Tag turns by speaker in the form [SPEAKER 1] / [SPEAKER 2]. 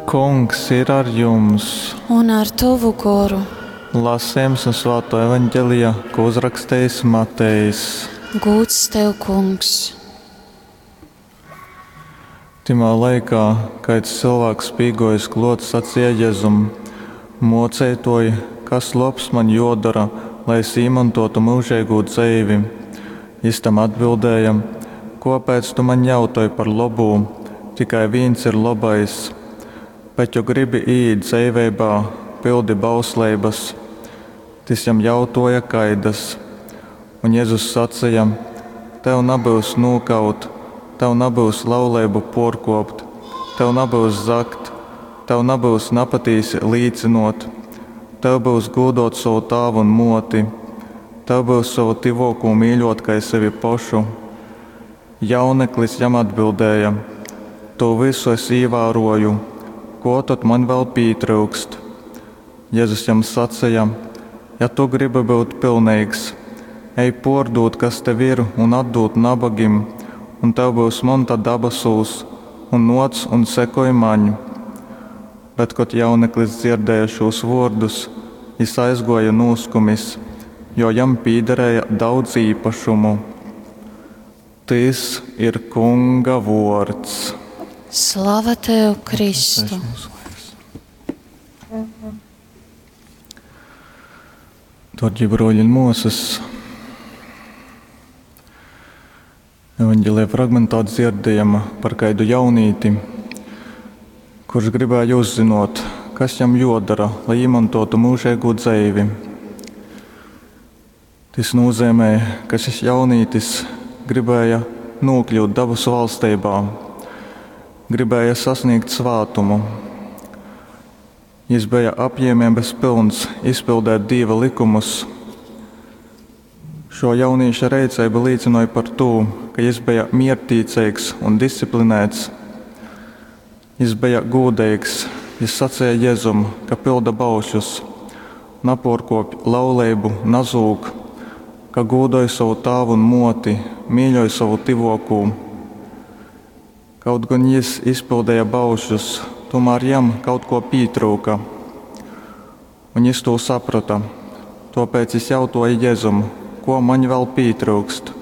[SPEAKER 1] Kungs ir ar jums!
[SPEAKER 2] Un ar tovu goru.
[SPEAKER 1] Lasījums no Svāto evaņģelija, ko uzrakstījis Matejs.
[SPEAKER 2] Gūds tev, kungs!
[SPEAKER 1] Timā laikā kāds cilvēks pīgojis klot sacīja Jezum: Mocētoji, kas lobs man jodara, lai es īmantotu mūžīgo dzeivi? Jis tam atbildēja: Kopēc tu man jautoj par labū? Tikai viens ir labais. Bet, jo gribi ieiet dzeiveibā, pildi bausleibas. Tis jam jautoja kaidas. Un Jēzus sacīja: Tev nabyus nūkaut, tev nabyus lauleibu porkopt, tev nabyus zagt, tev nabyus napatīsi līcynot, tev byus gūdot sovu tāvu un moti, tev byus sovu tivokū mīļot kai sevi pošu. Jauneklis jam atbildēja: To visu es īvēroju, ko tad man vēl pītryukst? Jēzus jam sacīja: Ja tu gribi būt pilnīgs, ej pordūt, kas tev ir, un atdūt nabagim, un tev būs monta dabasūs, un noc un sekoj maņ. Bet, kad jauneklis dzirdēja šos vārdus, jis aizgoja nūskumis, jo jam pīderēja daudz īpašumu. Tys ir Kunga vords.
[SPEAKER 2] Slava tev, Kristu!
[SPEAKER 1] Darbie broļi un māsas, evanģēlijā fragmentā dzirdējam par kādu jaunīti, kurš gribēja uzzinot, kas jam jodara, lai iemantotu mūžīgo dzeivi. Tas nozīmē, ka šis jaunītis gribēja nokļūt dabasu valstībā, gribēja sasniegt svātumu. Jis bija apjēmības pilns izpildēt Dieva likumus. Šo jaunīša reiceiba liecināja par to, ka jis bija miertīcīgs un disciplinēts. Jis bija gūdīgs, jis sacīja Jēzum, ka pilda baušus, naporkopj lauleibu, nazūg, ka gūdoj savu tāvu un moti, mīļoj savu tivokū. Kaut gan jis izpildīja baušus, tomēr jam kaut ko pietrūka. Un jis to saprata. Tāpēc jis jautāja Jēzum, ko man vēl pietrūkst.